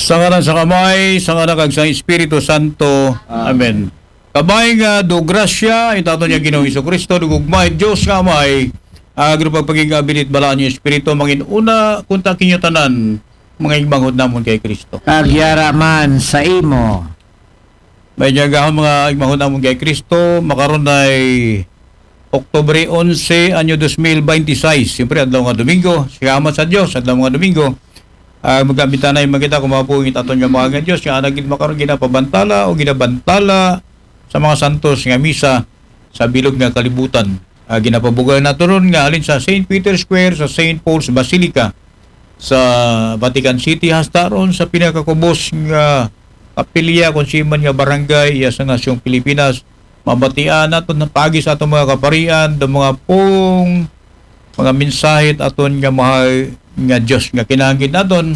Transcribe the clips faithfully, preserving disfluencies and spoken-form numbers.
Sa ngalan sa Amay, sa Anak, kag sa Espiritu Santo. Amen. Amen. Kabay nga do grasya, itaton niya Ginoong Jesu-Cristo, do gugma, Dios nga Amay, agro pagpaging abilit balaan niya Espiritu, mangin una, kunta kinyo tanan, mga igbanghod namon kay Cristo. Kag yara man sa imo. May gahom mga igbanghod namon kay Cristo, makaron ay Oktubre onse, anyo dos mil beintiseis. Siyempre, adlaw nga Domingo. Salamat sa Dios, adlaw nga Domingo. Ah, magkamitanay man kita kung mga buhing aton nga mga nga Dios, nga anag gid makaron ginapabantala o ginabantala sa mga santos nga misa sa bilog nga kalibutan. Ah, ginapabugay nato ron nga halin sa Saint Peter's Square sa Saint Paul's Basilica sa Vatican City hasta ron sa pinakakubos nga kapilya kung siman nga barangay iya sa nasyong Pilipinas. Mabatian naton paagi sa aton mga kaparian, do mga pung mga mensahe aton nga mahal nga Dios nga kinahanglan naton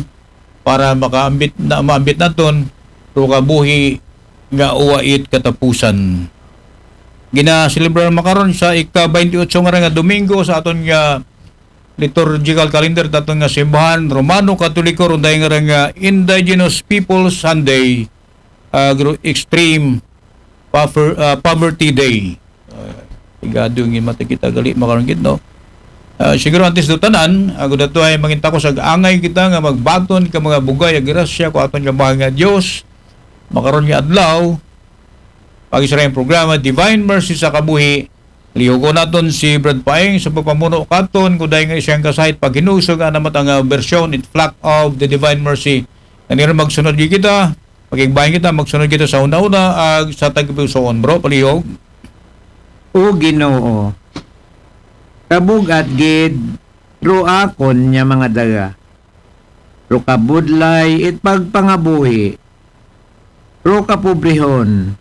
para makaambit na maambit naton ro kabuhi nga uwait katapusan. Ginaselebrar makaron sa ika twenty-eight nga, nga Domingo sa aton nga liturgical calendar, taton nga simbahan Romano Katoliko, ron dahil nga, nga Indigenous People Sunday, ah, gro-, Extreme Pover-, ah, Poverty Day. Ah, igado nga mata kita gali makaron gid, no? Ah, siguro antes do tanan, ako dato ay mangin takos ag angay kita nga magbaton ka mga bugay ag grasya ko aton nga mahal nga Dios. Makaron nga adlaw, pag-isra ang programa Divine Mercy sa Kabuhi, lihugon naton si Brad Paeng sa pagpamuno katon, kuday nga isang kasahit paghinusog nga namat ang, ah, bersyon, it flock of the Divine Mercy. Nanira magsunod gyud kita, magigbahin kita, magsunod kita sa una-una, ag sa tagpusoon, bro, palihog. O Ginoo, kabugat gid, ro akon nga mga daga, ro kabudlay it pagpangabuhi, ro kapobrehon,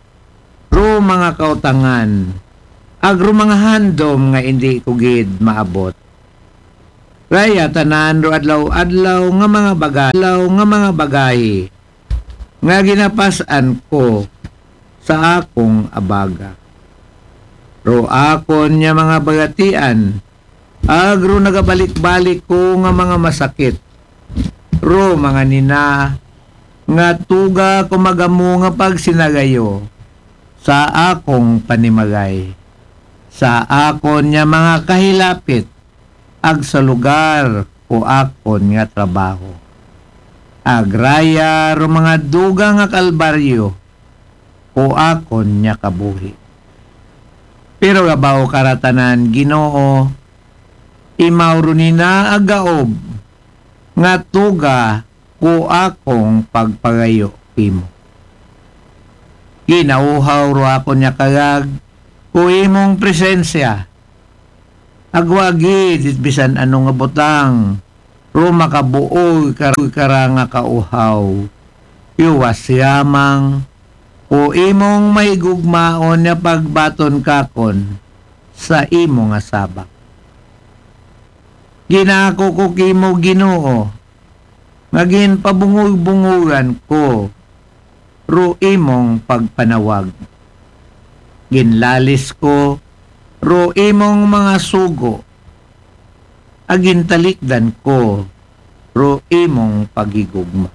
ro mga kautangan, ag ro mga handom nga indi ko gid maabot. Raya tanan ro adlaw-adlaw nga mga baga-, adlaw nga mga bagahi nga ginapas-an ko sa akong abaga. Ro akon nga mga bagatian, agro nagabalik-balik ko nga mga masakit. Ro mga nina nga tuga ko magamo nga pagsinagayo sa akong panimagay, sa akon nga mga kahilapit, ag sa lugar ko akon nga trabaho. Agraya ro mga duga nga kalbaryo ko akon nga kabuhi. Pero gabaw karatanan, Ginoo, imaw ro nina agaob nga tuga ko akong pagpagayo imo. Ginauhaw ro akon nga kagag ko imong presensya. Agwa gid bisan ano nga butang, ro makabuo ka, ka ra nga kauhaw. Iwas yamang, o imong mahigugmaon nga pagbaton kakon sa imo nga sabak. Ginako ko kimo, Ginoo, nga ginpabungog-bungogan ko ro imong pagpanawag. Ginlalis ko ro imong mga sugo, ag gintalikdan ko ro imong paghigugma.